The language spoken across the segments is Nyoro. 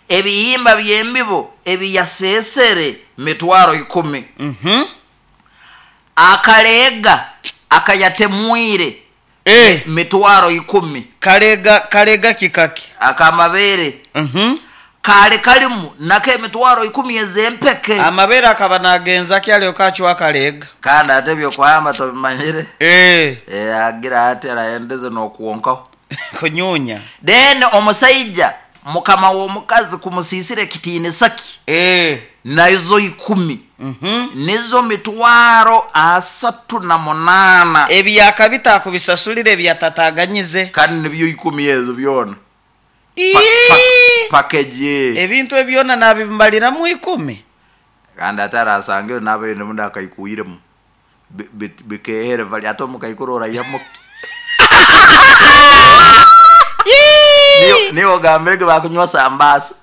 Ebihimba by'embibo ebiyaseesere mitwaro 10. Akaleega akayatemwire mitwaro 10. Kalega kalega kikaki. Akamabeere kaali kalimu nako emitwaro 10 ez'empeke. Amabere akaba nagenza ki alyoka acwa kalega? Kandi ate ebyokuhamba tobimanyire. Agira ati arahendeze n'okwonkaho. Kunyunya. Then omusaija mukama w'omukazi kumusiisira ekitiinisa kye nazo 10 nizo mitwaro 38. Ebyakabita akubisasulira ebyatataganyize. Kandi nibyo 10 ezo byona. Package. Ebintu ebyona nabimaliramu 10. Kandi ate arasangire nabaire mundi akaikuiremu bikehere bali ate omukaikuru orayamu. Niyo ogambire ngu bakunywa sambasa.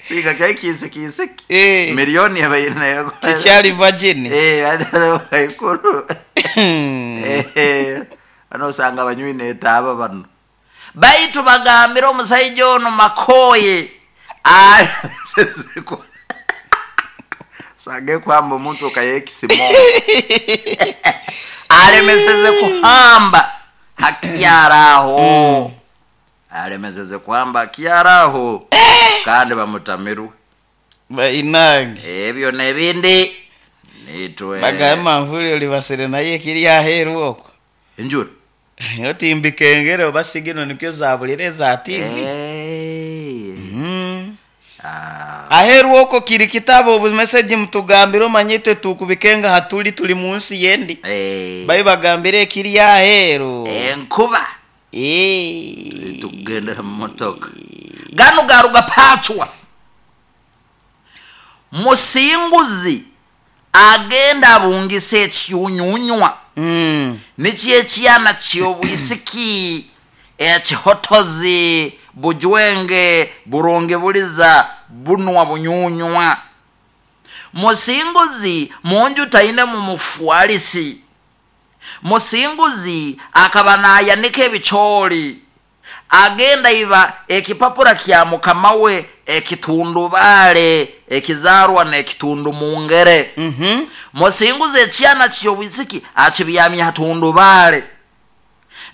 Singa kyai kisikisiki. Milioni ebaire nayo. Kikyali virgin. Omukaikuru. Bano osanga abanywi netaaba bano. Baitu bagambire omusaija ono makoye. Sange kwamba omuntu okayekisimo. Alemeseze kuhamba hakyaraho. Alemeseze kuhamba hakyaraho. Kandi bamutamirwe. Bainange. Ebyo n'ebindi nitwe. Bagamba nvuli olibasire naye kiri aheeru okwo. Enjura. Otimbikengere oba sigino nikyo zabulire za TV. Aheeru okwo kiri kitabo obumeseji mutugambire omanye itwe tukubikenga hatuli tuli munsi yendi. Bayi bagambire ekiri aheeru. Enkuba. Tukugendera mu motoka. Gano garuga pachwa. Musinguzi agenda abungisa ekiunyunywa. Nikyo ekyana ky'obwisiki ekihotozi bujwenge burungi buliza bunwa bunyunywa. Musinguzi munju taine mu mufwalisi. Musinguzi akaba nayanika ebicooli. Agenda iba ekipapura kya mukama we ekitundubale ekizarwa n'ekitundu mungere. Musinguzi ekyana ky'obwisiki akibyamya hatundubale.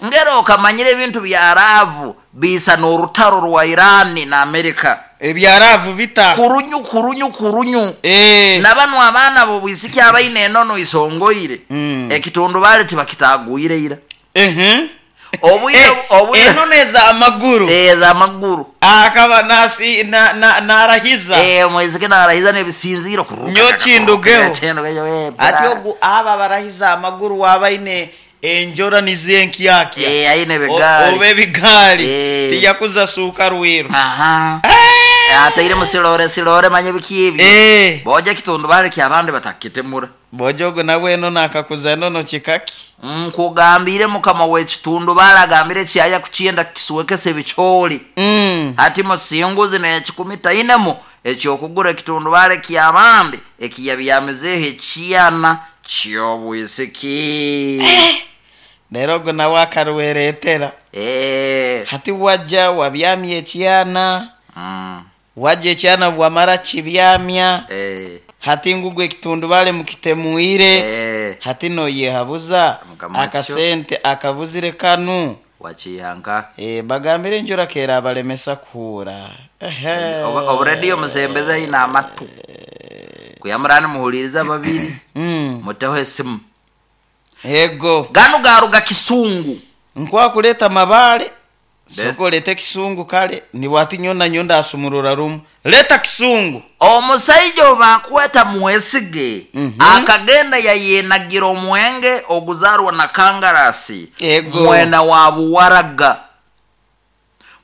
Ngero okamanyira ebintu bya raavu bisa n'orutaro rwa Irani na Amerika. Ebyaraavu bita kurunyu kurunyu kurunyu. Na bano abaana b'obwisiki abaine enono isongoire. Ekitundubale tibakitagwire ira. Obwire Enono ez'amaguru. Ez'amaguru. Akaba nasi narahiza. Mwezike narahiza n'ebisinziro. Nyo kindugeho. Ati ogu aba barahiza amaguru wabaine enjora nizenkyakya. Aine bigaali. Obe bigaali. Tiyakuza suka rwiru. Ataire musilore silore manye bikibi. Boja kitundubale kyabandi batakitemura. Bojogo nawe eno nakakuza enono kikaki. Nkugambire mukama w'ekitundubale agambire kyaya kukyenda kisuwekese ebicooli. Hati musinguzi n'ekikumi tainemu ekyokugura ekitundubale kyabandi ekiyabyamizeho ekyana ky'obwisiki. Leero ogwo nawe akarwereetera. Hati wajja wabyamya ekyana. Wajja ekyana bwamara kibyamya. Hati ngugu ekitundubale mukitemwire. Hati noyehabuza akasente akabuzire kanu. Wakihanka. Bagambire enjura kera abalemesa kuhura. Oburediyo musembeza ina amatu. Kuyamurani muhuliriza babiri. Muteho esimu. Ego. Gano garuga kisungu. Nkwa kuleta mabale. Soko lete kisungu kale ni wati nyona nyonda asumurura rumu. Leta kisungu. Omusaija obakweta mwesige. Akagenda yayenagira omwenge oguzarwa na kangarasi. Ego. Mwena wa buwaraga.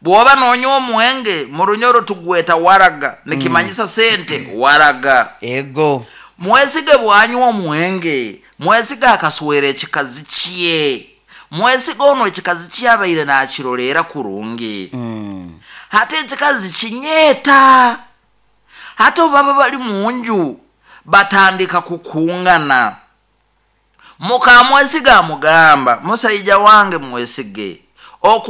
Bwoba nonywa omwenge mu runyoro tugweta waraga. Nikimanyisa sente waraga. Ego. Mwesige bwanywa omwenge. Mwesige akaswera ekikazi kye. Mwesige ono ekikazi kyabaire nakirolera kurungi. Hati ekikazi kinyeeta. Hati baba bali munju batandika kukungana. Muka mwesige amugamba, musaija wange mwesige.